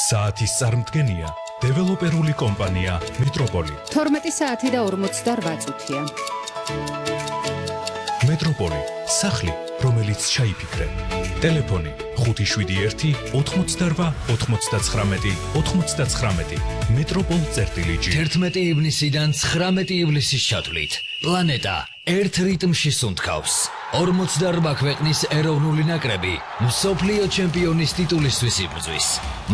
საათის წარმდგენია დეველოპერული კომპანია მეტროპოლი. 12 საათი და 48 წუთია. მეტროპოლი, სახლი, რომელიც ჩაიფიქრე. ტელეფონი 571 88 99 99. მეტროპოლ.gr 11 ივნისიდან 19 ივლისის ჩათვლით პლანეტა ერთ რიტმში სუნთქავს. 48 ქვეყნის ეროვნული ნაკრები მსოფლიო ჩემპიონის ტიტულისთვის იბრძვის.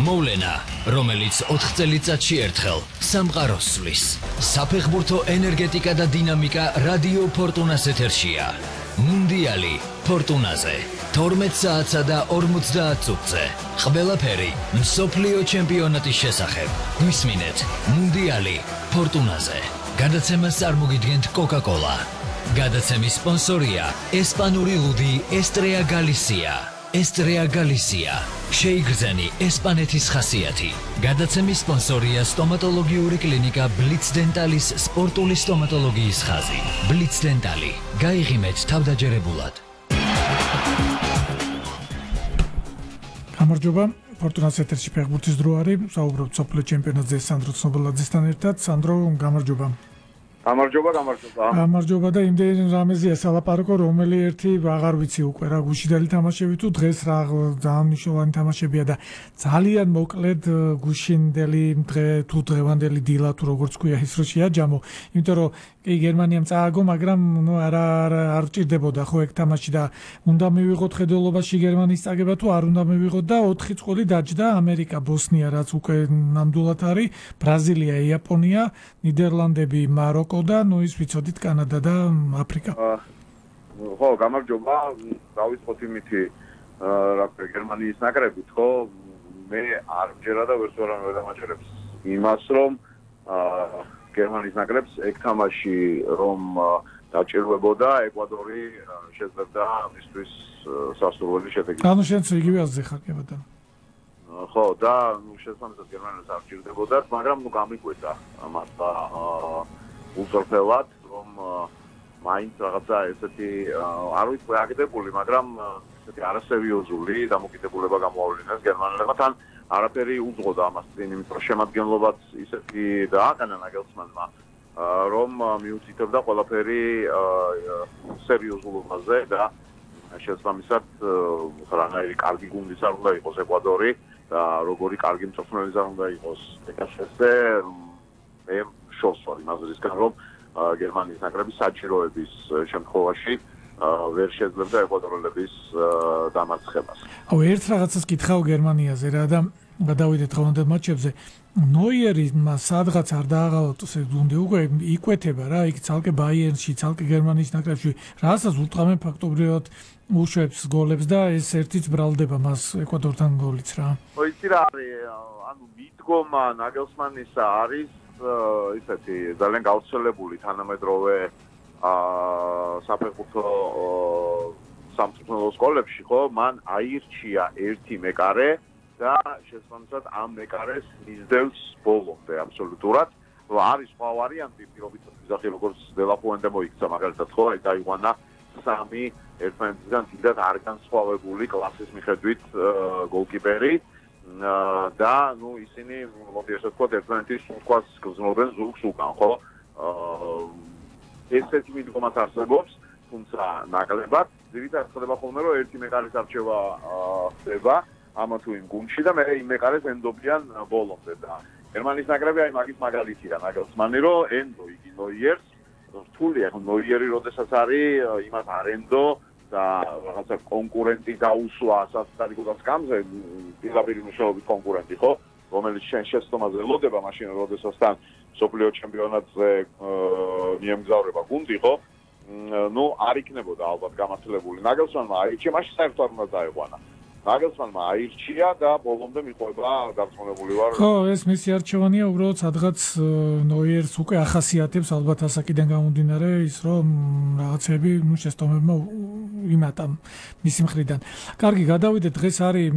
მოვლენა, რომელიც 4 წელიწადში ერთხელ სამყაროს სვლის. საფეხბურთო ენერგეტიკა და დინამიკა რადიო ფორტუნას ეთერშია. მუნდიალი ფორტუნაზე 12 საათსა და 50 წუთზე. ყველაფერი მსოფლიო ჩემპიონატის შესახებ. გვისმინეთ მუნდიალი ფორტუნაზე. გადაცემას წარმოგიდგენთ Coca-Cola. გადაცემის სპონსორია ესპანური ლუდი ესტრეა გალისია. ესტრეა გალისია. შეიგრძენი ესპანეთის ხასიათი. გადაცემის სპონსორია სტომატოლოგიური კლინიკა ბლიც დენტალის სპორტული სტომატოლოგიის ხაზი. ბლიც დენტალი. გაიღიმეთ თავდაჯერებულად. გამარჯობა, ფორტუნას ეთერში ფეხბურთის დრო არის. საუბრობთ სოფლიო ჩემპიონატზე სანდრო ცნობილაძესთან ერთად. სანდრო, გამარჯობა. გამარჯობა და იმდენ რამეზია სალაპარაკო, რომელი ერთი აღარ ვიცი უკვე რა გუშინდელი თამაშები თუ დღეს რა ძალიან მნიშვნელოვანი თამაშებია და ძალიან მოკლედ გუშინდელი დღე თუ დღევანდელი დილა თუ როგორც ქვია ის რო შეაჯამო, იმიტომ რომ კი გერმანიამ წააგო, მაგრამ ნუ არ ჭირდებოდა ხო ეგ თამაში და უნდა მივიღოთ ხედველობაში გერმანიის წაგება თუ არ უნდა მივიღოთ და 4 წყვილი დაჯდა ამერიკა, ბოსნია რაც უკვე ნამდვილად არის, ბრაზილია, იაპონია, ნიდერლანდები, მაროკო და ნუ ის ვიცოდით კანადა და აფრიკა. ხო, გამარჯობა, დავიწყოთ იმითი რა ქვია გერმანიის ნაკრებით, ხო? მე არ მჯერა და ვერც ვარ დამაჯერებს იმას, რომ გერმანიის ნაკრებს ეგ თამაში რომ დაჭირვებოდა ეკვადორი შეძლებდა მისთვის სასურველი შედეგი. ანუ შენც იგივე აზრი ხარ, კი ბატონო. ხო, და ნუ შესაბამისად გერმანიას არ ჭირდებოდათ, მაგრამ ნუ გამიკვეთა მართლა უზრფელად, რომ მაინც რაღაცა ესეთი არ ვიცი აგდებული, მაგრამ ესეთი არასერიოზული დამოკიდებულება გამოავლინეს გერმანელებმა, თან არაფერი უძღოდა ამას წინ, იმიტომ რომ შემადგენლობაც ისეთი დააყენა ნაგელსმანმა, რომ მიუთითებდა ყველაფერი სერიოზულობაზე და შესაბამისად რაღაცა კარგი გუნდის არ უნდა იყოს ეკვადორი და როგორი კარგი მწვრთნელის არ უნდა იყოს ეკაშესე მე შორს ვარ იმაზრისგან რომ გერმანიის ნაკრების საჭიროების შემთხვევაში ვერ შეძლებდა ეკვადორელების დამარცხებას. აუ ერთ რაღაცას კითხავ გერმანიაზე რა და გადავიდეთ დღევანდელ მატჩებზე. ნოიერი სადღაც არ დააღალოთ ეს გუნდი უკვე იკვეთება რა, იქ ცალკე ბაიერნში, ცალკე გერმანიის ნაკრებში, რასაც ურტყამენ ფაქტობრივად უშვებს გოლებს და ეს ერთიც ბრალდება მას ეკვადორთან გოლიც რა. ხო, იცი რა არის, ანუ მიდგომა ნაგელსმანისა არის ისეთი ძალიან გავრცელებული თანამედროვე საფეხბურთო სამწვრთნელო სკოლებში, ხო, მან აირჩია ერთი მეკარე და შესაბამისად ამ მეკარეს მისდევს ბოლომდე აბსოლუტურად. არის სხვა ვარიანტი, პირობითად ვიზახი როგორც დელაფუენდე მოიქცა მაგალითად, ხო, აი დაიყვანა 3 ერთმანეთისგან დიდად არ განსხვავებული კლასის მიხედვით გოლკიპერი და ნუ ისინი მოდი ასე ვთქვათ ერთმანეთის სუნთქვას გრძნობენ ზურგს უკან, ხო? ესეთი მიდგომაც არსებობს, თუმცა ნაკლებად ძირითადად ხდება ხოლმე რომ ერთი მეკარის არჩევა ხდება ამა თუ იმ გუნდში და მე იმ მეკარეს ენდობიან ბოლომდე და გერმანიის ნაკრები აი მაგის მაგალითია ნაგელსმანი რომ ენდო იგი ნოიერს რთულია ხო ნოიერი როდესაც არის იმას არენდო და რაღაცა კონკურენტი დაუსვა სასტარიკო სკამზე პირდაპირ მუშაობის კონკურენტი ხო რომელიც შენ შეცდომაზე ელოდება მაშინ როდესაც თან სოფლიო ჩემპიონატზე მიემგზავრება გუნდი ხო ნუ არ იქნებოდა ალბათ გამართლებული ნაგელსმანმა აირჩია მაშინ საერთოდ არ უნდა დაეყვანა ნაგელსმანმა აირჩია და ბოლომდე მიყვება დარწმუნებული ვარ ხო ეს მისი არჩევანია უბრალოდ სადღაც ნოიერს უკვე ახასიათებს ალბათ ასაკიდან გამომდინარე ის რომ რაღაცები ნუ შეცდომებმა იმატა მისი მხრიდან. კარგი, გადავიდეთ დღეს არის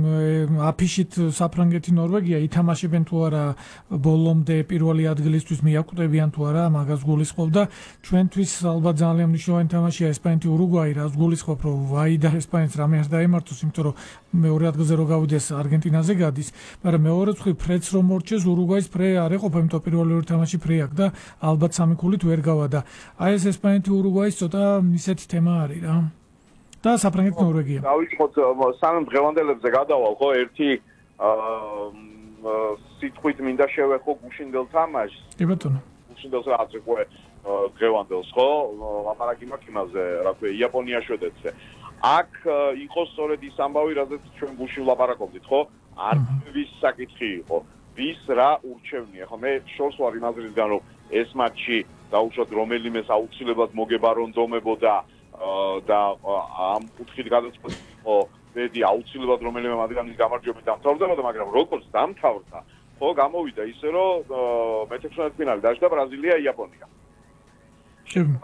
აფიშით საფრანგეთი ნორვეგია ითამაშებენ თუ არა ბოლომდე პირველი ადგილისთვის მიაკვდებიან თუ არა მაგას გულისხმობ და ჩვენთვის ალბათ ძალიან მნიშვნელოვანი თამაშია ესპანეთი ურუგვაი რას გულისხმობ რომ ვაი და ესპანეთს რამე არ დაემართოს იმიტომ რომ მეორე ადგილზე რო გავიდეს არგენტინაზე გადის, მაგრამ მეორე მხრივ ფრედს რომ მორჩეს ურუგვაის ფრე არ ეყოფა, იმიტომ პირველი ორი თამაში ფრე აქვს და ალბათ სამი ქულით ვერ გავა და აი ეს ესპანეთი ურუგვაის ცოტა ისეთი თემა არის რა. და საფრანგეთი ნორვეგია. დავიწყოთ სანამ დღევანდელებზე გადავალ ხო ერთი სიტყვით მინდა შევეხო გუშინდელ თამაშს. კი ბატონო. გუშინდელს რაც უკვე დღევანდელს ხო ლაპარაკი მაქვს იმაზე რა ქვია იაპონია შვედეთზე. აქ იყო სწორედ ის ამბავი რაზეც ჩვენ გუშინ ლაპარაკობდით ხო? არც საკითხი იყო. ვის რა ურჩევნია ხო? მე შორს ვარ იმ აზრისგან რომ ეს მატჩი დაუშვათ რომელიმეს აუცილებლად მოგებარონდომებოდა და ამ კუთხით გადაწყვეტ ხო ბედი აუცილებლად რომელიმე მათგანის გამარჯვებით დამთავრდებოდა, მაგრამ როგორც დამთავრდა, ხო გამოვიდა ისე რომ მე-16 დაჯდა ბრაზილია იაპონია.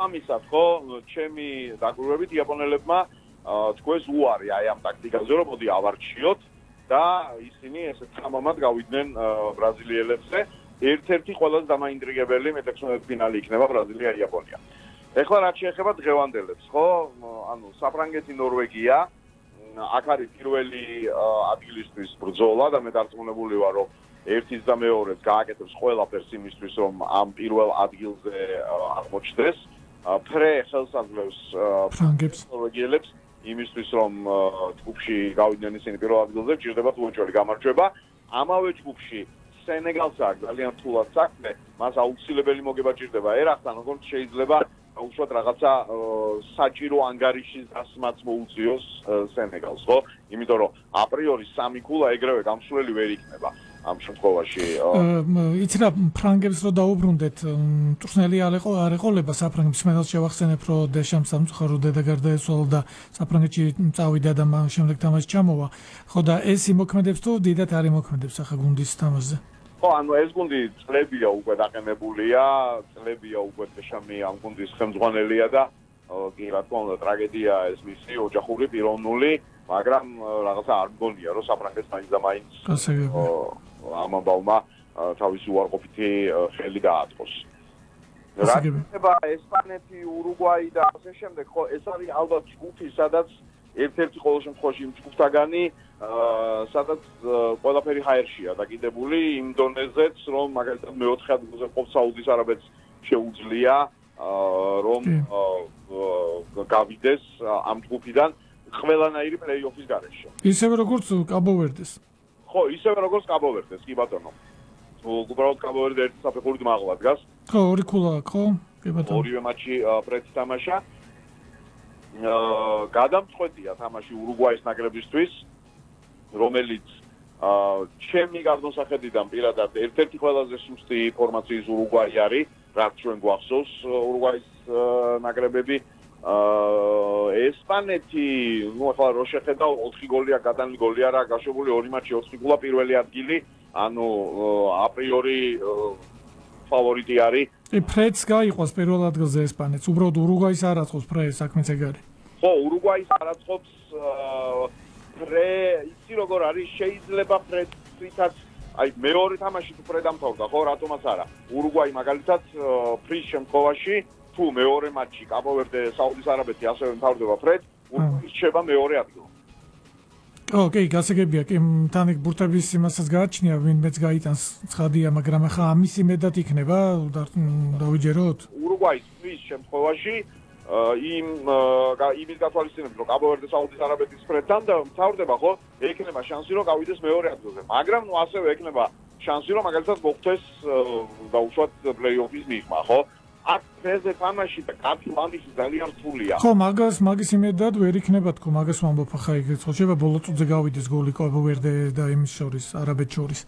ამისად ხო ჩემი დაკვირვებით იაპონელებმა თქვეს უარი აი ამ ტაქტიკაზე რომ მოდი ავარჩიოთ და ისინი ესე თამამად გავიდნენ ბრაზილიელებზე. ერთ-ერთი ყველაზე დამაინტრიგებელი მე-16 ფინალი იქნება ბრაზილია-იაპონია. ეხლა რაც შეეხება დღევანდელებს, ხო? ანუ საფრანგეთი, ნორვეგია, აქ არის პირველი ადგილისთვის ბრძოლა და მე დარწმუნებული ვარ, რომ ერთის და მეორეს გააკეთებს ყველაფერს იმისთვის, რომ ამ პირველ ადგილზე აღმოჩნდეს. ფრე ხელს აძლევს ფრანგებს, ნორვეგიელებს იმისთვის, რომ ჯგუფში გავიდნენ ისინი პირველ ადგილზე, ჭირდება უეჭველი გამარჯვება. ამავე ჯგუფში სენეგალს აქვს ძალიან რთულად საქმე, მას აუცილებელი მოგება ჭირდება ერახთან, როგორც შეიძლება უშუალოდ რაღაცა საჭირო ანგარიშის დასმაც მოუწიოს სენეგალს, ხო? იმიტომ რომ აპრიორი სამი ქულა ეგრევე გამსვლელი ვერ იქნება ამ შემთხვევაში. იცი რა ფრანგებს რო დაუბრუნდეთ, მწვრთნელი არ ეყოლება საფრანგეთს, მე შევახსენებ რომ დეშამს სამწუხარო დედა გარდაეცვალა და საფრანგეთში წავიდა და შემდეგ თამაში ჩამოვა. ხო და ეს იმოქმედებს თუ დიდად არ იმოქმედებს ახლა გუნდის თამაშზე? ხო, ანუ ეს გუნდი წლებია უკვე დაყენებულია, წლებია უკვე დეშამი ამ გუნდის ხელმძღვანელია და კი რა თქმა უნდა ტრაგედია ეს მისი ოჯახური პიროვნული, მაგრამ რაღაცა არ მგონია რომ საფრანგეთს მაინც და მაინც ამ ამბავმა თავისი უარყოფითი ხელი დააწყოს. რა ხდება ესპანეთი, ურუგვაი და ასე შემდეგ, ხო, ეს არის ალბათ ჯგუფი, სადაც ერთ-ერთი ყოველ შემთხვევაში იმ ჯგუფთაგანი სადაც ყველაფერი ჰაერშია დაკიდებული იმ დონეზეც, რომ მაგალითად მეოთხე ადგილზე ყოფ საუდის არაბეთს შეუძლია რომ გავიდეს ამ ჯგუფიდან ყველანაირი პლეი-ოფის გარეშე. ისევე როგორც კაბო-ვერდეს. ხო, ისევე როგორც კაბო-ვერდეს, კი ბატონო. უბრალოდ კაბო-ვერდე ერთი საფეხურით მაღლა დგას. ხო, ორი ქულა აქვს, ხო? კი ბატონო. ორივე მატჩი პრეცი თამაშა. გადამწყვეტია თამაში ურუგვაის ნაკრებისთვის, რომელიც ჩემი გამოსახედიდან პირადად ერთ-ერთი ყველაზე სუსტი ფორმაციის ურუგვაი არის, რაც ჩვენ გვახსოვს ურუგვაის ნაკრებები. ესპანეთი, ნუ ახლა რო შეხედავ 4 გოლია გადანლი გოლი არა გაშვებული 2 მატჩი 4 ქულა პირველი ადგილი, ანუ აპრიორი ფავორიტი არის. ფრედს გაიყვას პირველ ადგილზე ესპანეთს, უბრალოდ ურუგვაის არ აწყობს ფრე, საქმეც ეგ არის. ხო, ურუგვაის არ აწყობს ფრე, იცი როგორ არის, შეიძლება ფრედითაც, აი მეორე თამაში თუ ფრე დამთავრდა, ხო, რატომაც არა. ურუგვაი მაგალითად ფრის შემთხვევაში, თუ მეორე მატჩი კაბო-ვერდე, საუდის არაბეთი ასევე მთავრდება ფრედ, ურუგვაი რჩება მეორე ადგილზე. ოკეი, გასაგებია, კი, თან ეგ ბურთების იმასაც გააჩნია, ვინმეც გაიტანს ცხადია, მაგრამ ახლა ამის იმედად იქნება, დავიჯეროთ. ურუგვაის ფრის შემთხვევაში იმის გათვალისწინებით, რომ კაბო-ვერდე საუდის არაბეთის ფრედთან და მთავრდება, ხო? ექნება შანსი, რომ გავიდეს მეორე ადგილზე. მაგრამ ნუ ასევე ექნება შანსი, რომ მაგალითად მოხდეს დაუშვათ პლეი-ოფის მიღმა, ხო? აქ ფეზე თამაში და კაპიტანის ძალიან რთულია. ხო, მაგის იმედად ვერ იქნება თქო, მაგას ვამბობ ახლა ეგ შეიძლება ბოლო წუთზე გავიდეს გოლი კაბო-ვერდე და იმის შორის, არაბეთს შორის.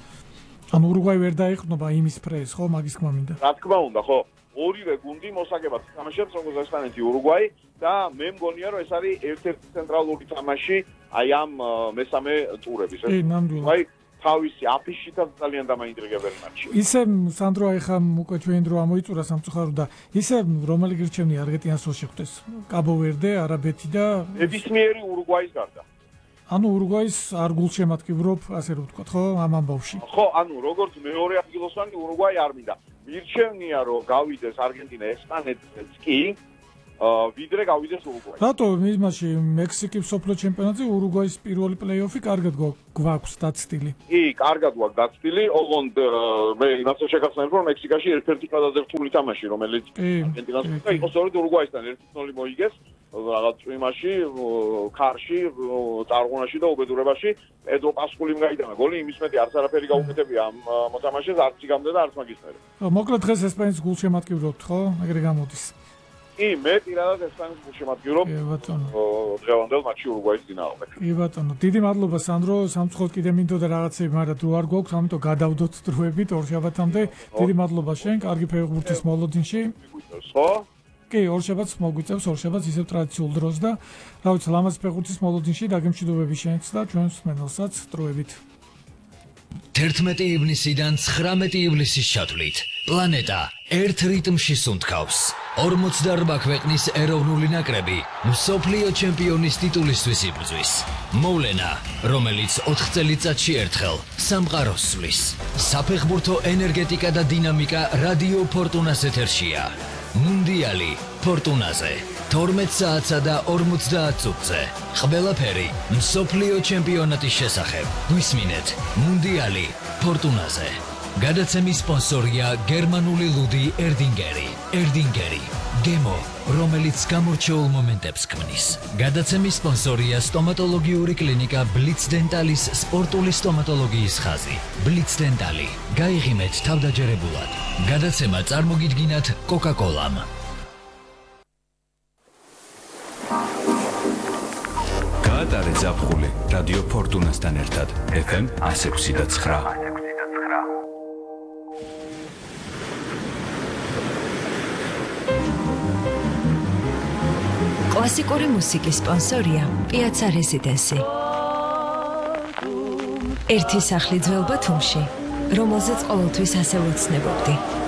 ანუ ურუგვაი ვერ დაეყრდნობა იმის ფრეს, ხო, მაგის თქმა მინდა. რა თქმა უნდა, ხო. ორივე გუნდი მოსაგებად თამაშობს როგორც ესპანეთი, ურუგვაი და მე მგონია რომ ეს არის ერთ-ერთი ცენტრალური თამაში აი ამ მესამე ტურების. კი, ნამდვილად. აი თავისი აფიშითაც ძალიან დამაინტრიგებელი მატჩი. ისე სანდრო ახლა უკვე ჩვენ დრო ამოიწურა სამწუხარო და ისე რომელი გირჩევნი არგენტინას რო შეხვდეს? კაბო-ვერდე, არაბეთი და ნებისმიერი ურუგვაის გარდა. ანუ ურუგვაის არ გულშემატკივრობ, ასე რომ ვთქვა, ხო, ამ ამბავში. ხო, ანუ როგორც მეორე ადგილოსანი ურუგვაი არ მინდა. მირჩევნია რომ გავიდეს არგენტინა ესპანეთს კი, ვიდრე გავიდეს ურუგვაი. რატო იმაში მექსიკის სოფლო ჩემპიონატზე ურუგვაის პირველი პლეი-ოფი კარგად გვაქვს დაცდილი? კი, კარგად გვაქვს დაცდილი, ოღონდ მე იმასაც შეგახსენებ, რომ მექსიკაში ერთ-ერთი ყველაზე რთული თამაში, რომელიც არგენტინასთან იყო სწორედ ურუგვაისთან 1-0 მოიგეს რაღაც წვიმაში, ქარში, წარღუნაში და უბედურებაში. პედრო პასკულიმ გაიტანა გოლი, იმის მეტი არც არაფერი გაუკეთებია ამ მოთამაშეს, არც იგამდე და არც მაგის მერე. მოკლედ დღეს ესპანეთის გულშემატკივრობთ, ხო? ეგრე გამოდის. კი, მე პირადად ესპანეთის გულშემატკივრობ. კი ბატონო. დღევანდელ მატჩში ურუგვაის წინააღმდეგ. კი ბატონო, დიდი მადლობა სანდრო, სამწუხაროდ კიდე მინდოდა რაღაცები, მაგრამ დრო არ გვაქვს, ამიტომ გადავდოთ დროებით ორშაბათამდე. დიდი მადლობა შენ, კარგი ფეხბურთის მოლოდინში. ხო? კი, ორშაბათს მოგვიწევს, ორშაბათს ისევ ტრადიციულ დროს და რა ვიცი, ლამაზ ფეხბურთის მოლოდინში დაგემშვიდობები შენც და ჩვენს მენელსაც დროებით. 11 ივნისიდან 19 ივლისის ჩათვლით პლანეტა ერთ რიტმში სუნთქავს 48 ქვეყნის ეროვნული ნაკრები მსოფლიო ჩემპიონის ტიტულისთვის იბრძვის მოვლენა რომელიც 4 წელიწადში ერთხელ სამყაროს სვლის საფეხბურთო ენერგეტიკა და დინამიკა რადიო ფორტუნას ეთერშია მუნდიალი ფორტუნაზე 12 საათსა და 50 წუთზე ყველაფერი მსოფლიო ჩემპიონატის შესახებ გვისმინეთ მუნდიალი ფორტუნაზე გადაცემის სპონსორია გერმანული ლუდი ერდინგერი გემო რომელიც გამორჩეულ მომენტებს ქმნის გადაცემის სპონსორია სტომატოლოგიური კლინიკა ბლიც დენტალის სპორტული სტომატოლოგიის ხაზი ბლიც დენტალი გაიღიმეთ თავდაჯერებულად გადაცემა წარმოგიდგინათ კოკა-კოლამ გაატარე ზაფხული რადიო ფორტუნასთან ერთად FM 106.9 კლასიკური მუსიკის სპონსორია პიაცა რეზიდენსი. ერთი სახლი ძველ ბათუმში, რომელზეც ყოველთვის ასე ვეცნებობდი.